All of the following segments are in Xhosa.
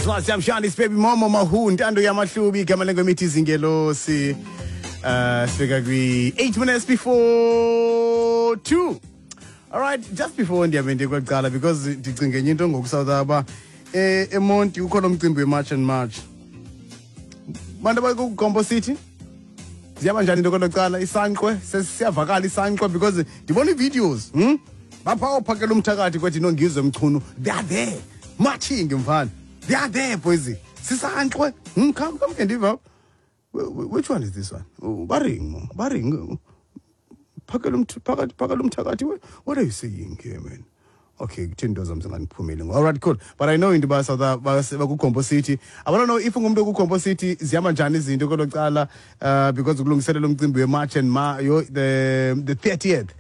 As Jamshani baby mama mahu ntando yamahlubi igama lengoma izingelosi. Sifika kwi 8 minutes before 2. All right, just before ndiyabe ndikwaqala because ndicinge enye into ngoku South aba eMonti kukho lo mcimbi we-March and March. Bantu abakuGompo City ziyaba njani into kwelo cala isankxwe sesiyavakala isankxwe because ndibona ii-videos? Bapha ophakela umthakathi kwethi nongizwe Mchunu, they are there marching, mfana, they are there, boys, sisankxwe, Come, come ke ndiva. Which one is this one? Oh, baring baring phakela phakathi phakela umthakathi. What are you saying here, man? Okay, kutheni into zam zingandiphumeli? All right, cool, but I know into yoba South bakuGompo City. I don't know if ungumntu okuGompo City, zihamba njani izinto kwelo cala, because kulungiselela umcimbi we-March and ma yo the 30th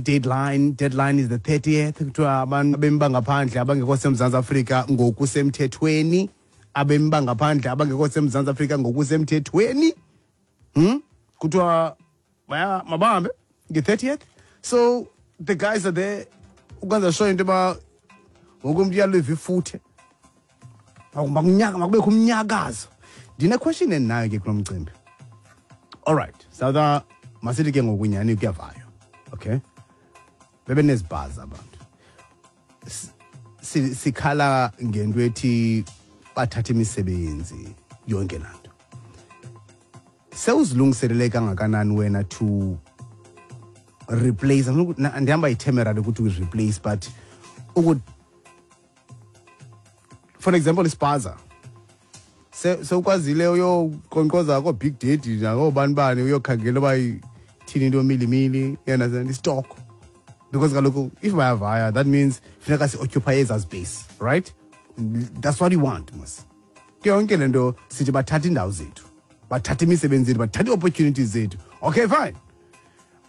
deadline is the 30th. Kuthiwa abantu abemi bangaphandle abangekho seMzantsi Afrika ngokusemthethweni, abemi bangaphandle abangekho seMzantsi Afrika ngokusemthethweni, Kuthiwa baya mabahambe nge-30th. So the guys are there ukwenza sure into yoba wonke umntu uyaliva ifuthe. Makunyaka makubekho umnyakazo. Ndine-question endinayo ke kulo mcimbi. All right, South, masithi ke ngokunyani kuyavayo, okay, bebenezibhaza abantu. Sikhala ngento ethi bathatha imisebenzi yonke laa nto. Sewuzilungiselele kangakanani wena to replace? Andihamba yi-term ukuthi replace, but for example ispaza, sewukwazile uyoqonkqoza koo-Big Daddy nakoobani bani uyokhangela uba ithini into milimili, you understand, i-stock? Because kaloku if bayavaya, that means funeka si-occupy ezaa space, right? That's what you want mos. Yonke le nto sithi bathatha iindawo zethu, bathatha imisebenzi yethu, bathatha ii-opportunities zethu. Okay, fine.